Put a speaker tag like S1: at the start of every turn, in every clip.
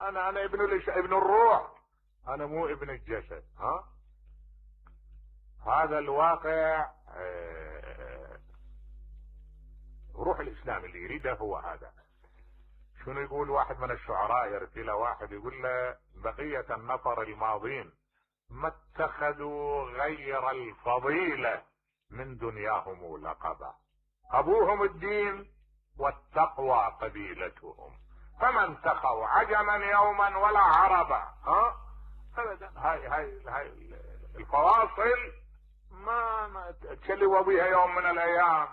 S1: انا ابن الروح، انا مو ابن الجسد. هذا الواقع. روح الاسلام اللي يريده هو هذا. شنو يقول واحد من الشعراء، يرسل واحد يقول له بقية النفر الماضين ما اتخذوا غير الفضيلة من دنياهم لقبا، ابوهم الدين والتقوى قبيلتهم، فما انتخوا عجما يوما ولا عربا. ابدا. هاي الفواصل ما تشلوا بيها يوم من الايام.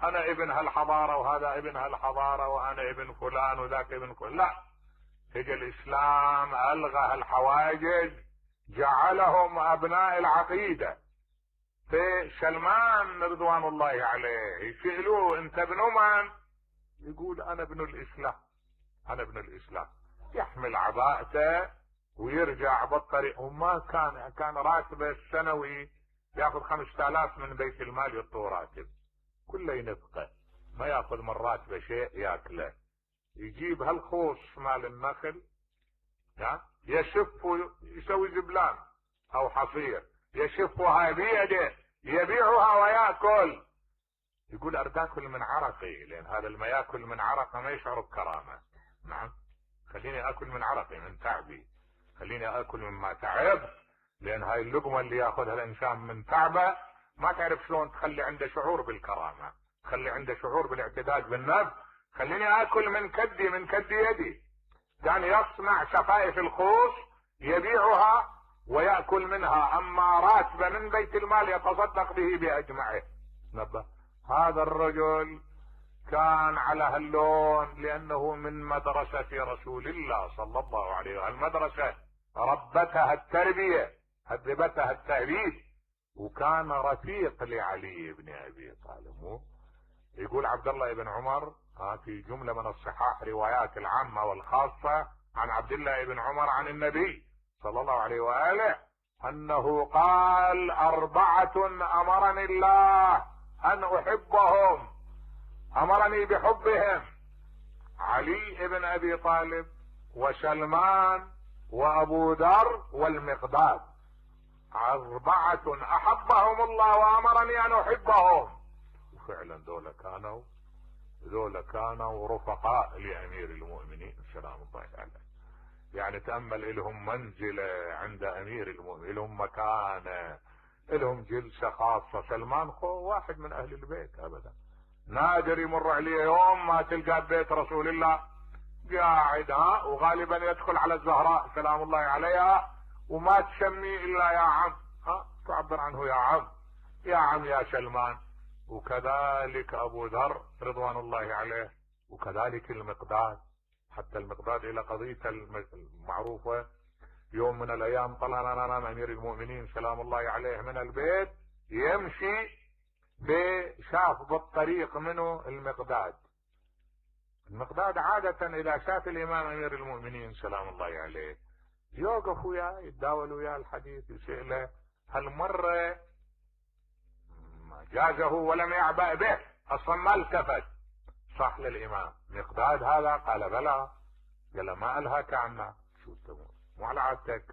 S1: انا ابن هالحضارة وهذا ابن هالحضارة وانا ابن فلان وذاك ابن فلان. لا، هجى الاسلام الغى هالحواجز، جعلهم ابناء العقيدة. في سلمان رضوان الله عليه يسألوه انت ابن من؟ يقول انا ابن الاسلام، انا ابن الاسلام. يحمل عباءته ويرجع بالطريق. وما كان راتبه السنوي ياخذ 5000 من بيت المال يعطوه راتب، كله ينفقه، ما ياخذ من راتبه شيء ياكله. يجيب هالخوص مال النخل يشف يسوي زبلان او حصير، يشفها بيده يبيعها وياكل. يقول اريد اكل من عرقي، لان هذا اللي ما ياكل من عرقه ما يشعر بكرامه. نعم، خليني اكل من عرقي، من تعبي، خليني اكل مما تعب، لان هاي اللقمه اللي ياخذها الانسان من تعبه ما تعرف شلون تخلي عنده شعور بالكرامه، تخلي عنده شعور بالاعتداد بالنفس. خليني اكل من كدي، من كد يدي. كان يصنع شفائف الخوص يبيعها ويأكل منها، اما راتبه من بيت المال يتصدق به باجمعه. نبه، هذا الرجل كان على هاللون لانه من مدرسة رسول الله صلى الله عليه وسلم. المدرسة ربتها التربية، هذبتها التأديب، وكان رفيق لعلي بن ابي طالب. يقول عبد الله بن عمر في جملة من الصحاح روايات العامة والخاصة عن عبد الله بن عمر عن النبي صلى الله عليه وآله انه قال 4 امرني الله ان احبهم، امرني بحبهم: علي بن ابي طالب وسلمان وابو ذر والمقداد. 4 احبهم الله وامرني ان احبهم. وفعلا ذولا كانوا رفقاء لامير المؤمنين سلام الله عليه. يعني تأمل لهم منزلة عند امير المؤمنين، لهم مكانة، لهم جلسة خاصة. سلمان واحد من اهل البيت ابدا، نادر يمر عليه يوم ما تلقى بيت رسول الله قاعد وغالبا يدخل على الزهراء سلام الله عليها وما تسميه الا يا عم، تعبر عنه يا عم، يا عم يا سلمان. وكذلك ابو ذر رضوان الله عليه، وكذلك المقداد. حتى المقداد الى قضية المعروفة، يوم من الايام طلع امير المؤمنين سلام الله عليه من البيت يمشي شاف بالطريق منه المقداد. المقداد عادة اذا شاف الامام امير المؤمنين سلام الله عليه يوقف وياه يتداول وياه الحديث، يسأله. هالمرة جازه ولم يعبأ به، اصلا ما التفت. صح للامام مقداد هذا؟ قال بلى. قال له ما الهاك عنا؟ شو تسوي؟ مو على عادتك؟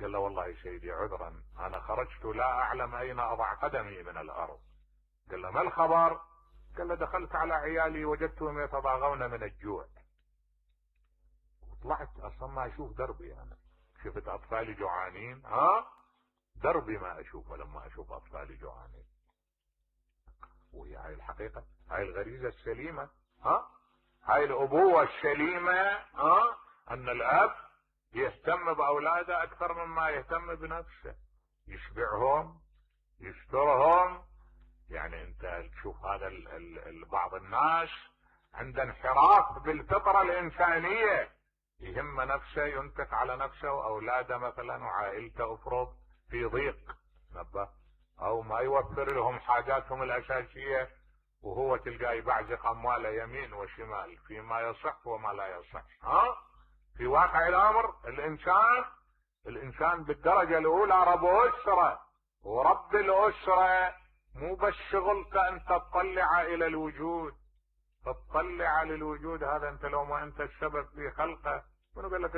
S1: قال له والله سيدي عذرا، انا خرجت لا اعلم اين اضع قدمي من الارض. قال له ما الخبر؟ قال له دخلت على عيالي وجدتهم يتضاغون من الجوع، وطلعت اصلا ما اشوف دربي. انا شفت اطفالي جوعانين، دربي ما اشوفه لما اشوف اطفالي جوعانين. وهي هاي الحقيقة، هاي الغريزة السليمة، هاي الابوة السليمة، ان الاب يهتم باولاده اكثر مما يهتم بنفسه، يشبعهم، يسترهم. يعني انت تشوف هذا بعض الناس عنده انحراف بالفطرة الانسانية، يهم نفسه، ينفق على نفسه واولاده مثلا وعائلته افرض في ضيق، نبه، او ما يوفر لهم حاجاتهم الاساسية، وهو تلقاه يبعزق امواله يمين وشمال فيما يصح وما لا يصح. في واقع الامر الانسان بالدرجة الاولى رب اسرة، ورب الاسرة مو بس شغلك انت تطلع الى الوجود، تطلع للوجود هذا انت لو ما انت السبب في خلقه منو قال لك